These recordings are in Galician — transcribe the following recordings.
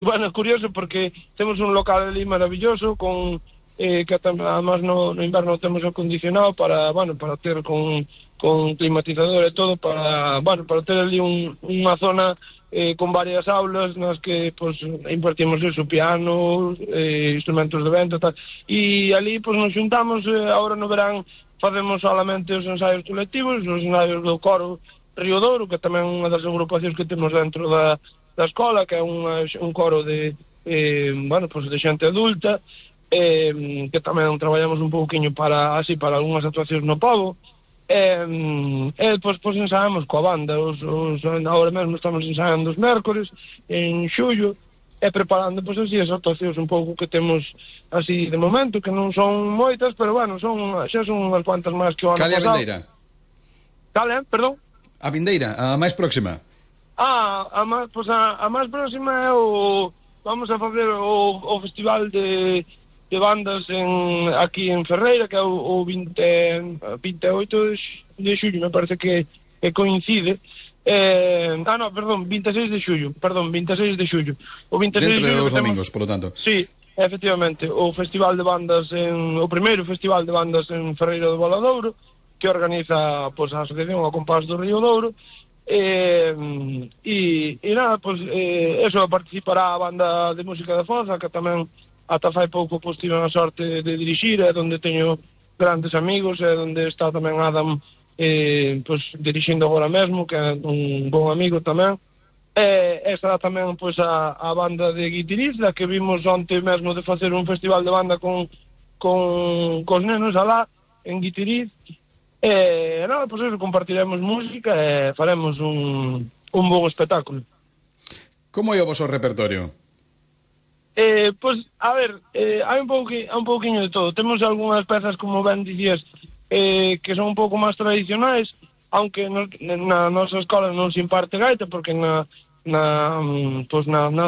Bueno, é curioso porque temos un local ali maravilloso con que además no inverno temos acondicionado para, bueno, para ter con climatizador e todo para, bueno, para ter ali unha zona con varias aulas nas que pues impartimos eso, piano, instrumentos de vento e tal. E ali pues nos xuntamos, agora no verán facemos solamente os ensaios colectivos, os ensaios do coro Río Douro, que tamén é unha das agrupacións que temos dentro da escola, que é un coro de bueno, pues de xente adulta, que tamén traballamos un pouquiño para así para algunhas actuacións no pobo. Pues ensaiamos coa banda, agora mesmo estamos ensaiando os mércores en xullo, e preparando pues así as actuacións un pouco que temos así de momento, que non son moitas, pero bueno, xa son unhas cuantas máis que o ano Cal é a pasado. vindeira? Cal é? Perdón? A vindeira, a máis próxima. A máis próxima é vamos a facer o festival de bandas aquí en Ferreira, que é o 28 de xullo, me parece que coincide. No, perdón, 26 de xullo, O 26 Dentro de xullo dos domingos, polo tanto. Sí, efectivamente, o festival de bandas o primeiro festival de bandas en Ferreira do Valadouro, que organiza pues a Asociación ao Compás do Río Douro. Nada, pues eso, participará a banda de música de Foza, que tamén ata fai pouco pues tive a sorte de dirixir, é onde teño grandes amigos, é onde está tamén Adam pues dirixindo agora mesmo, que é un bon amigo tamén. Estará tamén pues a banda de Guitiriz, que vimos onte mesmo de facer un festival de banda cos nenos alá en Guitiriz. Nada, pues eso, compartiremos música e faremos un bon espectáculo. Como é o vosso repertorio? Pues, a ver, hai un pouquiño de todo. Temos algunhas pezas, como ben dicías, que son un pouco máis tradicionais, aunque na nosa escola non se imparte gaita, porque na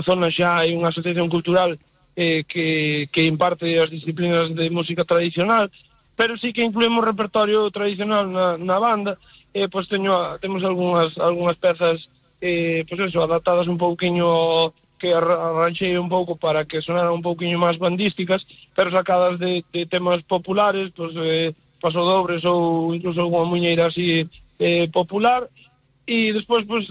zona xa hai unha asociación cultural que imparte as disciplinas de música tradicional, pero sí que incluímos repertorio tradicional na banda. Pues temos algunhas pezas pues eso, adaptadas un pouquiño, que arranxei un pouco para que sonaran un pouquiño máis bandísticas, pero sacadas de temas populares, pues pasodobles ou incluso alguna muñeira así popular. E despois pues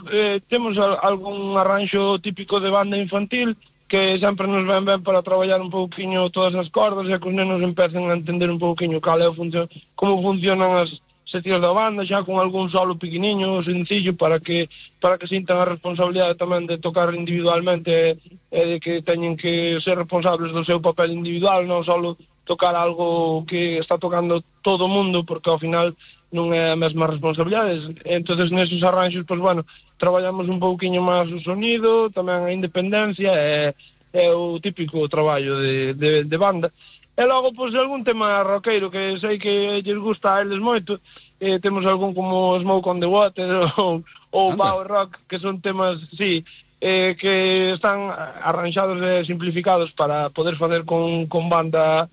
temos algún arranxo típico de banda infantil, que sempre nos ven ben para traballar un pouquiño todas as cordas e que os nenos empecen a entender un pouquiño como funcionan as seccións da banda, xa con algún solo pequeniño, sencillo, para que sintan a responsabilidade tamén de tocar individualmente e de que teñen que ser responsables do seu papel individual, non solo tocar algo que está tocando todo o mundo, porque ao final non é a mesma responsabilidade. Entonces neses arranxos, pues bueno, traballamos un pouquiño máis o sonido, tamén a independencia e o típico traballo de banda. E logo, pues, algún tema roqueiro que sei que lles gusta a eles moito. Temos algún como Smoke on the Water ou Power Rock, que son temas, sí, que están arranxados e simplificados para poder facer con banda,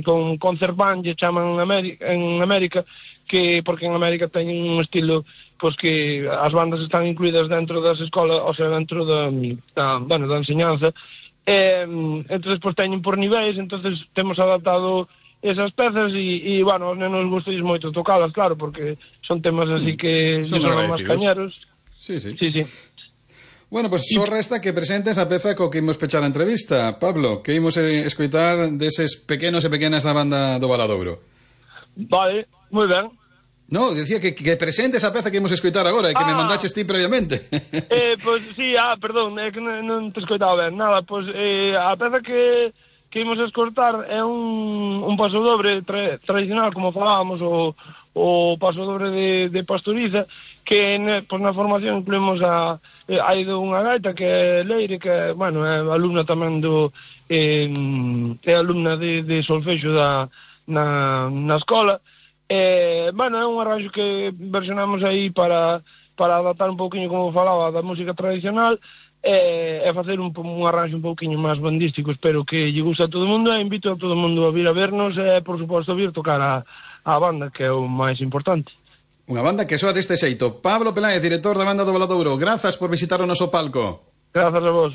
con concert band, lle chaman en América, porque en América teñen un estilo pues que as bandas están incluídas dentro das escolas, o sea, dentro da enseñanza. Entonces pues teñen por niveis, entonces temos adaptado esas pezas e bueno, aos nenos gustalles moito tocalas, claro, porque son temas así que son máis cañeros. Sí. Sí. Bueno, pues só resta que presentes a peza co que imos pechar a entrevista, Pablo, que imos escoitar deses pequenos e pequenas da banda do Valadouro. Vale, moi ben. No, decía que presentes a peza que imos escoitar agora e que me mandaches ti previamente. Pois sí, perdón, é que non te escoitaba ben. Nada, pois a peza que imos escoitar é un pasodobre tradicional, como falábamos, o pasodobre de Pastoriza, que na formación incluímos hai unha gaita que é Leire, que bueno, é alumna tamén é alumna de solfexo na escola. Bueno, é un arranxo que versionamos aí para adaptar un pouquiño, como falaba, da música tradicional e facer un arranxo un pouquiño máis bandístico. Espero que lle guste a todo o mundo e invito a todo o mundo a vir a vernos e, por suposto, vir tocar a banda, que é o máis importante. Unha banda que soa deste xeito. Pablo Peláez, director da banda do Valadouro, grazas por visitar o noso palco. Grazas a vos.